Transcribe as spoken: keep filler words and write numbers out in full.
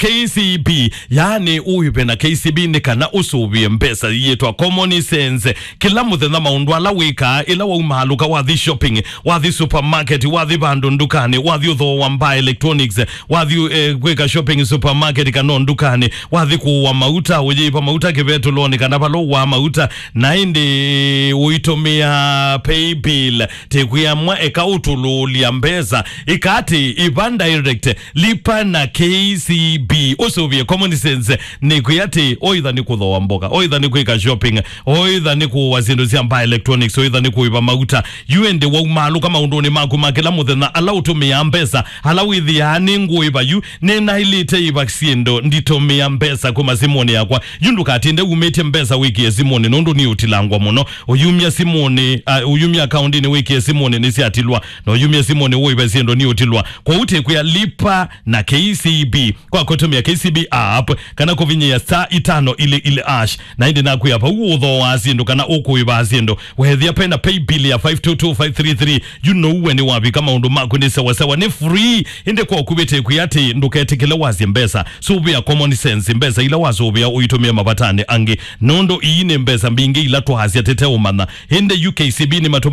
K C B, yaani ũĩve na K C B nĩ kana ũsũvĩe mbesa yĩtwa common sense. Kĩla mũthenya maũndũ ala wĩkaa, ĩla waumaalũka, wathi shopping, wathi supermarket, wathi vandũ ndukanĩ, wathi ũthooa mbaa electronics, wathi eh, kwĩka shopping supermarket kana o ndukanĩ, wathi kũũa mauta, ũyĩva mauta kĩvetũlonĩ kana vala ũaa mauta, na ĩndĩ ũitũmĩa paybill, tĩkwĩa mwa eka ũtũlũũlya mbesa, ĩka atĩ, ĩva direct, lipa na K C B, ũsũvĩe common sense, nĩkwĩa atĩ, oitha nĩ kũthooa mboka, oitha nĩ kwĩka shopping, oitha nĩ kũũa syĩndũ sya mbaa electronics, oitha nĩ kũĩva mauta, yu ĩndĩ waumaalũka maũndũnĩ maku ma kĩla mũthenya ala ũtũmĩaa mbesa, ala wĩthĩaa nĩ ngũĩva yu, nĩnaĩlĩte ĩva syĩndũ nditũmĩa mbesa kuma simũnĩ yakwa. Yu ndũkatinde umĩtye mbesa wĩkĩe simũnĩ, nũndũ nĩ ũtilangwa mũno. Ũyumya simũnĩ, uh, ũyumya akaũndinĩ wĩkĩe simũnĩ nĩsyatilwa, na ũyumya simũnĩ ũĩve syĩndũ nĩ ũtilwa. Kwoou tĩkwĩa lipa na K C B kwa kũtũmĩa K C B app kana kũvinyĩa star itano ili ili hash. Na ĩndĩ nakwĩa vau ũthooaa syĩndũ kana ũkũĩvaa syĩndũ, weethĩa pena paybill ya five two two five three three, you know we nĩwavika, maũndũ maku nĩ sawasawa, nĩ free. Ĩndĩ kwa ũkuvĩte kwĩ atĩ ndũketĩkĩle wasye mbesa. Sũvĩa common sense, mbesa ila wasũvĩa ũitũmĩe mavatanĩ angĩ, nũndũ ii nĩ mbesa mbingĩ ila twaasya tĩteũmanya. Ĩndĩ yu K C B nĩmatũma